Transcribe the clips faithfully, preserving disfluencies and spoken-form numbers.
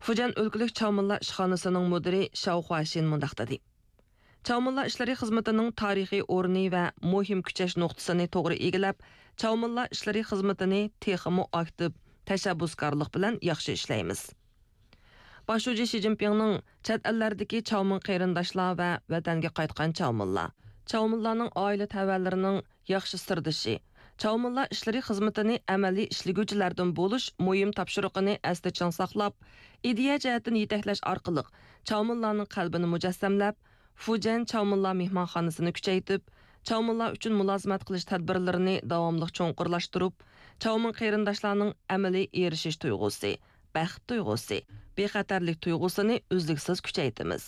فۇجيەن ئۆلكىلىك چاۋمىنلار ئىشخانىسىنىڭ مۇدىرى شاۋ خۇاشىن مۇنداق دېدى: چاۋمىنلار ئىشلىرى خىزمىتىنىڭ تارىخىي ئورنى ۋە مۇھىم كۈچەش نۇقتىسىنى توغرا ئىگىلەپ، چاۋمىنلار ئىشلىرى خىزمىتىنى تېخىمۇ ئاكتىپ، تەشەببۇسكارلىق بىلەن ياخشى ئىشلەيمىز. باش شۇجى شى جىنپىڭنىڭ چەت ئەللەردىكى چاۋمىن قېرىنداشلار ۋە ۋەتەنگە قايتقان چاۋمىنلار، چاۋمىنلارنىڭ ئائىلە تەۋەلىرىنىڭ ياخشى سىردىشى، چاۋمىنلار ئىشلىرى خىزمىتىنى ئەمەلىي ئىشلىگۈچىلەردىن بولۇش مۇھىم تاپشۇرۇقىنى ئەستە چىڭ ساقلاپ، ئىدىيە جەھەتتىن يېتەكلەش ئارقىلىق چاۋمىنلارنىڭ قەلبىنى مۇجەسسەملەپ، فۇجيەن چاۋمىنلار مېھمانخانىسىنى كۈچەيتىپ، چاۋمىنلار ئۈچۈن مۇلازىمەت قىلىش تەدبىرلىرىنى داۋاملىق چوڭقۇرلاشتۇرۇپ، چاۋمىن قېرىنداشلارنىڭ ئەمەلىي ئېرىشىش تۇيغۇسى، بەخت تۇيغۇسى، بىخەتەرلىك تۇيغۇسىنى ئۈزلۈكسىز كۈچەيتىمىز.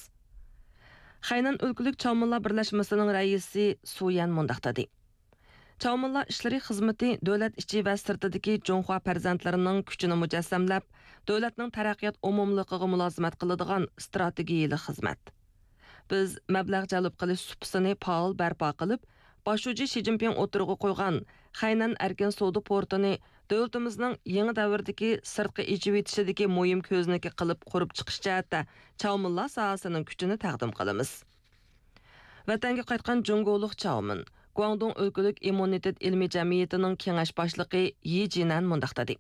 خەينەن ئۆلكىلىك چاۋمىنلار بىرلەشمىسىنىڭ رەئىسى سۇ يەن مۇنداق دېدى: چاۋمىنلار ئىشلىرى خىزمىتى دۆلەت ئىچى ۋە سىرتىدىكى جۇڭخۇا پەرزەنتلىرىنىڭ كۈچىنى مۇجەسسەملەپ، دۆلەتنىڭ تەرەققىيات ئومۇملۇقىغا مۇلازىمەت قىلىدىغان ئىستراتېگىيەلىك خىزمەت. بىز مەبلەغ جەلپ قىلىش سۇپىسىنى پائال بەرپا قىلىپ، باش شۇجى شى جىنپىڭ ئوتتۇرىغا قويغان خەينەن ئەركىن سودا پورتىنى دۆلىتىمىزنىڭ يېڭى دەۋردىكى سىرتقا ئېچىۋېتىشىدىكى مۇھىم كۆزنىكى قىلىپ قۇرۇپ چىقىش جەھەتتە چاۋمىنلار ساھەسىنىڭ كۈچىنى تەقدىم قىلىمىز. ۋەتەنگە قايتقان جۇڭگولۇق چاۋمىن، گۇاڭدۇڭ ئۆلكىلىك ئىممۇنىتېت ئىلمىي جەمئىيىتىنىڭ كېڭەش باشلىقى يى جىنەن مۇنداق دېدى: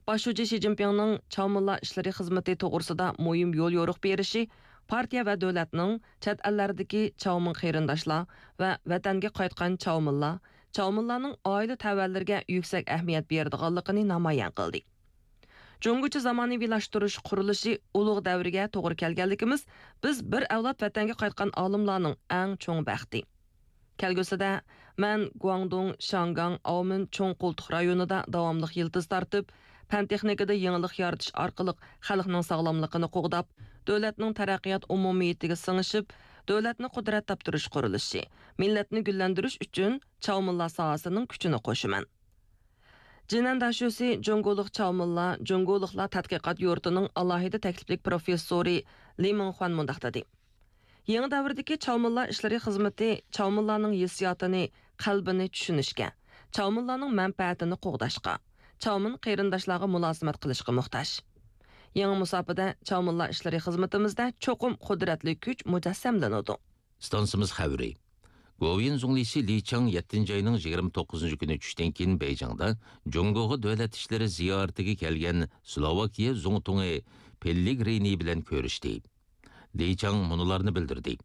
باش شۇجى شى جىنپىڭنىڭ چاۋمىنلار ئىشلىرى خىزمىتى توغرىسىدا مۇھىم يول يورۇق بېرىشى پارتىيە ۋە دۆلەتنىڭ چەت ئەللەردىكى چاۋمىن قېرىنداشلار ۋە ۋەتەنگە قايتقان چاۋمىنلار، چاۋمىنلارنىڭ ئائىلە تەۋەلىرىگە يۈكسەك ئەھمىيەت بېرىدىغانلىقىنى نامايان قىلدى. جۇڭگوچە زامانىۋىلاشتۇرۇش قۇرۇلۇشى ئۇلۇغ دەۋرگە توغرا كەلگەنلىكىمىز، بىز بىر ئەۋلاد ۋەتەنگە قايتقان ئالىملارنىڭ ئەڭ چوڭ بەختى. كەلگۈسىدە مەن گۇاڭدۇڭ، شياڭگاڭ، ئاۋمېن چوڭ قولتۇق رايونىدا داۋاملىق يىلتىز تارتىپ، پەن-تېخنىكىدا يېڭىلىق يارىتىش ئارقىلىق خەلقنىڭ ساغلاملىقىنى قوغداپ، دۆلەتنىڭ تەرەققىيات ئومۇمىيىتىگە سىڭىشىپ، دۆلەتنى قۇدرەت تاپتۇرۇش قۇرۇلۇشى، مىللەتنى گۈللەندۈرۈش ئۈچۈن چاۋمىنلار ساھەسىنىڭ كۈچىنى قوشىمەن. جىنەن داشۆسى جۇڭگولۇق چاۋمىنلار، جۇڭگولۇقلار تەتقىقات يۇرتىنىڭ ئالاھىدە تەكلىپلىك پروفېسسورى لى مىڭخۇەن مۇنداق دېدى: يېڭى دەۋردىكى چاۋمىنلار ئىشلىرى خىزمىتى چاۋمىنلارنىڭ ھېسسىياتىنى، قەلبىنى چۈشىنىشكە، چاۋمىنلارنىڭ مەنپەئەتىنى قوغداشقا، چاۋمىن قېرىنداشلارغا مۇلازىمەت قىلىشقا موھتاج. يېڭى مۇساپىدە چاۋمىنلار ئىشلىرى خىزمىتىمىزدە چوقۇم قۇدرەتلىك كۈچ مۇجەسسەملىنىدۇ. ئىستانسىمىز خەۋىرى. گوۋۇيۈەن زۇڭلىسى لى چاڭ يەتتىنچى ئاينىڭ يىگىرمە توققۇزىنچى كۈنى چۈشتىن كېيىن بېيجىڭدا جۇڭگوغا دۆلەت ئىشلىرى زىيارىتىگە كەلگەن سلوۋاكىيە زۇڭتۇڭى پېللېگرىنى بىلەن كۆرۈشتى. لى چاڭ مۇنۇلارنى بىلدۈردى: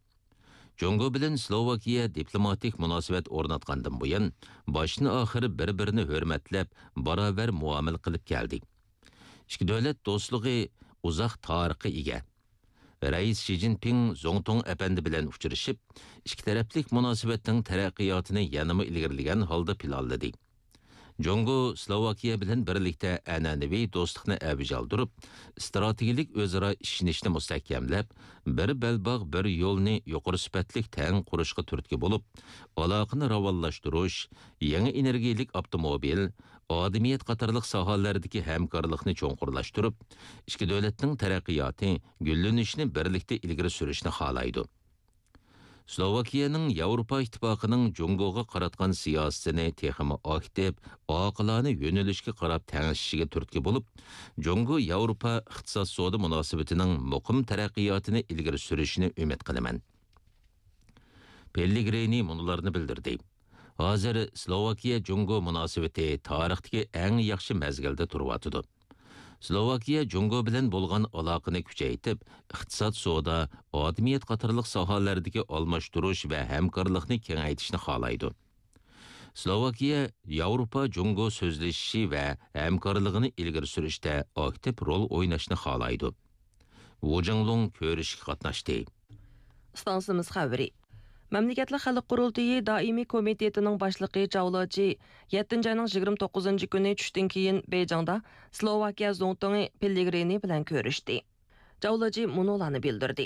جۇڭگو بىلەن سلوۋاكىيە دىپلوماتىك مۇناسىۋەت ئورناتقاندىن بۇيان، باشتىن ئاخىر بىر-بىرىنى ھۆرمەتلەپ، باراۋەر مۇئامىلە قىلىپ كەلدى. ئىككى دۆلەت دوستلۇقى ئۇزاق تارىخقا ئىگە. رەئىس شى جىنپىڭ زۇڭتۇڭ ئەپەندى بىلەن ئۇچرىشىپ، ئىككى تەرەپلىك مۇناسىۋەتنىڭ تەرەققىياتىنى يەنىمۇ ئىلگىرىلىگەن ھالدا پىلانلىدى. جۇڭگو سلوۋاكىيە بىلەن بىرلىكتە ئەنئەنىۋى دوستلۇقنى ئەۋج ئالدۇرۇپ، ئىستراتېگىيەلىك ئۆزئارا ئىشىنىشنى مۇستەھكەملەپ، بىر بەلباغ، بىر يولنى يۇقىرى سۈپەتلىك تەڭ قۇرۇشقا تۈرتكە بولۇپ، ئالاقىنى راۋانلاشتۇرۇش، يېڭى ئېنېرگىيەلىك ئاپتوموبىل، ئادىمىيەت قاتارلىق ساھەلەردىكى ھەمكارلىقنى چوڭقۇرلاشتۇرۇپ، ئىككى دۆلەتنىڭ تەرەققىياتى، گۈللىنىشىنى بىرلىكتە ئىلگىرى سۈرۈشنى خالايدۇ. سلوۋاكىيەنىڭ ياۋروپا ئىتتىپاقىنىڭ جۇڭگوغا قاراتقان سىياسىتىنى تېخىمۇ ئاكتىپ، ئاقىلانە يۆنىلىشكە قاراپ تەڭشىشىگە تۈرتكە بولۇپ، جۇڭگو ياۋروپا ئىقتىساد سودا مۇناسىۋىتىنىڭ مۇقىم تەرەققىياتىنى ئىلگىرى سۈرۈشىنى ئۈمىد قىلىمەن. پېللېگرىنى مۇنۇلارنى بىلدۈردى: ھازىر سلوۋاكىيە جۇڭگو مۇناسىۋىتى تارىختىكى ئەڭ ياخشى مەزگىلدە تۇرۇۋاتىدۇ. سلوۋاكىيە جۇڭگو بىلەن بولغان ئالاقىنى كۈچەيتىپ، ئىقتىساد، سودا، ئادىمىيەت قاتارلىق ساھەلەردىكى ئالماشتۇرۇش ۋە ھەمكارلىقنى كېڭەيتىشنى خالايدۇ. سلوۋاكىيە ياۋروپا جۇڭگو سۆزلىشىشى ۋە ھەمكارلىقىنى ئىلگىرى سۈرۈشتە ئاكتىپ رول ئويناشنى خالايدۇ. ۋۇ جىڭلۇڭ كۆرۈشۈشكە قاتناشتى. ئىستانسىمىز خەۋىرى. مەملىكەتلىك خەلق قۇرۇلتىيى دائىمىي كومىتېتىنىڭ باشلىقى جاۋ لېچى يەتتىنچى ئاينىڭ يىگىرمە توققۇزىنچى كۈنى چۈشتىن كېيىن بېيجىڭدا سلوۋاكىيە زۇڭتۇڭى پېللېگرىنى بىلەن كۆرۈشتى. جاۋ لېچى مۇنۇلارنى بىلدۈردى: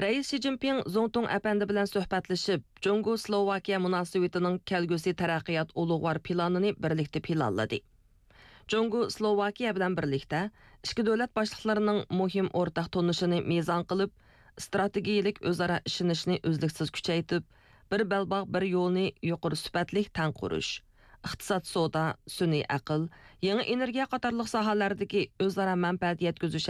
رەئىس شى جىنپىڭ زۇڭتۇڭ ئەپەندى بىلەن سۆھبەتلىشىپ، جۇڭگو سلوۋاكىيە مۇناسىۋىتىنىڭ كەلگۈسى تەرەققىيات ئۇلۇغۋار پىلانىنى بىرلىكتە پىلانلىدى. جۇڭگو سلوۋاكىيە بىلەن بىرلىكتە ئىككى دۆلەت باشلىقلىرىنىڭ مۇھىم ئورتاق تونۇشىنى مىزان قىلىپ، ئىستراتېگىيەلىك ئۆزئارا ئىشىنىشنى ئۈزلۈكسىز كۈچەيتىپ، بىر بەلباغ، بىر يولنى يۇقىرى سۈپەتلىك تەڭ قۇرۇش، ئىقتىساد، سودا، سۈنئىي ئەقىل، يېڭى ئېنېرگىيە قاتارلىق ساھەلەردىكى ئۆزئارا مەنپەئەت يەتكۈزۈش